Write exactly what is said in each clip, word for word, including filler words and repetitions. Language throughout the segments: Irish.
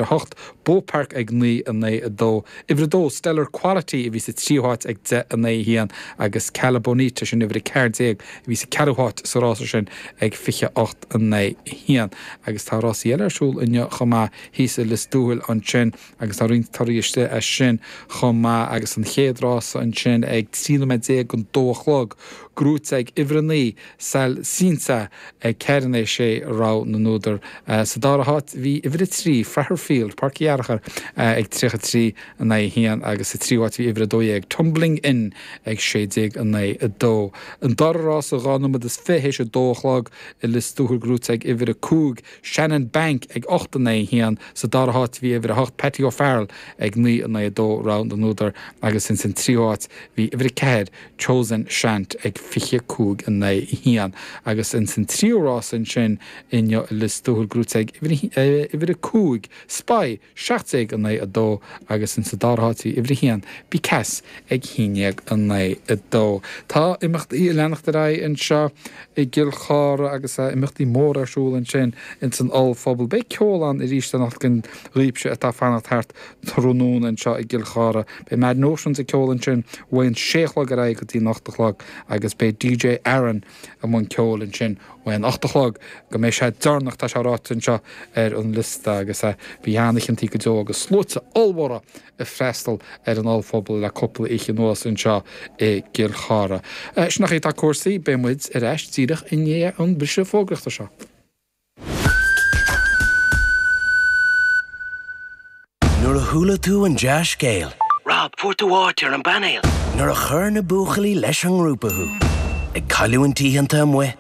a hocht, Beaupark ag naoi in aghaidh a dó. Uimhir a dó, Stellar Quality a bhí sa tríú háit ag deich in aghaidh a haon agus Cala Bonita, sin uimhir a ceathair déag, a bhí sa ceathrú háit sa rása sin ag fiche ocht in aghaidh a haon. Agus tá rásaí eile ar siúl inniu chomh maith thíos i Lios Tuathail ansin agus tá roinnt torthaí istigh as sin chomh maith agus an chéad rása ansin ag trí nóiméad déag don dó a chlog, gnóite ag uimhir a naoi, Sal Sinsa ag ceathair in aghaidh a sé rogha na n-údar. Sa dara háit bhí uimhir a trí, Fraherfield, Páirc Uí Fhearchair, ag tríocha trí in aghaidh a haon agus sa tríú háit bhí uimhir a dó dhéag, Tumbling In ag sé déag in aghaidh a dó. An dara rása dhá nóiméad is fiche théis a dó a chlog i Lios Tuathail gnóite ag uimhir a cúig, Shannon Bank ag ocht in aghaidh a haon. Sa dara háit bhí uimhir a hocht, Patty O'Farrell ag naoi in aghaidh a dó, rogha na n-údar agus ins an tríú háit bhí uimhir a ceathair, Chosen Shant ag fiche cúig in aghaidh a haon agus ins an tríú rás ansin inniu i Lios Tuathail gnóite ag uimhir a cúig, Spy, seacht déag in aghaidh a dó agus ins an dara háit bhí uimhir a haon, Bicas ag haon déag in aghaidh a dó. Tá imeachtaí ag leanacht ar aghaidh anseo i gCill Chartha agus imeachtaí móra ar siúl ansin ins an ollphuball. Beidh ceol ann arís anocht don dhaoibhse atá ag fanacht thart tráthnóna anseo i gCill Chartha. Beidh Mad Notions ag ceol ansin ón sé a chlog ar aghaidh go dtí an ocht a chlog agus beidh DJ Aaron i mbun ceoil ansin ón ocht a chlog go mbeidh sé deireanach, tá sé ráite anseo ar an liosta agus bhí an-oícheantaí go deo agus sluaite ollmhóra ag freastal ar an ollphuball le cúpla oíche anuas anseo i gCill Chartha. Sin an chaoi atá cúrsaí, beidh muid ar ais díreach i ndiaidh an briseadh fógraíochta seo. Nuair a chuala tú an dea-scéal. Rob, fuair tú áit ar an bpainéal! Nuair a chuir na buachaillí leis an ngrúpa thú. Ag cailliúint oícheanta amuigh,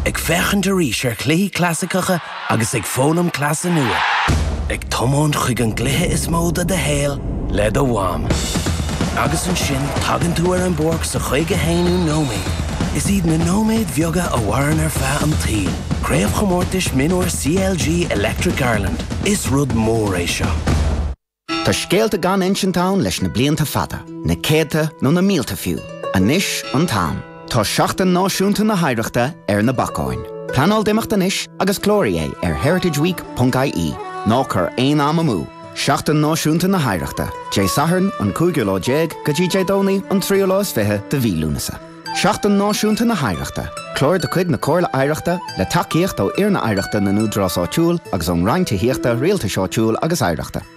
ag féachaint arís ar chluichí clasaiceacha agus ag foghlaim cleasa nua. Ag tiomáint chuig an gcluiche is mó de do shaol le do mham. Agus ansin tagann tú ar an bpáirc sa chaoga haonú nóiméad. Is iad na nóiméid bheaga a mhaireann ar feadh an tsaoil. Craobhchomórtais Mionúir CLG Electric Ireland, Is rud mór é seo. Tá scéalta gan insint ann leis na blianta fada, na céadta nó na mílte fiú. Anois an t-am. Tá Seachtain Náisiúnta na hOidhreachta ar na bacáin. Pleanáil d'imeacht anois agus cláraigh é ar heritageweek ponc ie. Ná cuir aon am amú! Seachtain Náisiúnta na hOidhreachta, Dé Sathairn an cúigiú lá déag go dtí Dé Domhnaigh an tríú lá is fiche de mhí Lúnasa. Seachtain Náisiúnta na hOidhreachta, clár de chuid na Comhairle Oidhreachta le tacaíocht ó Fhoirne Oidhreachta na nÚdarás Áitiúil agus ón Roinn Tithíochta, Rialtais Áitiúil agus Oidhreachta.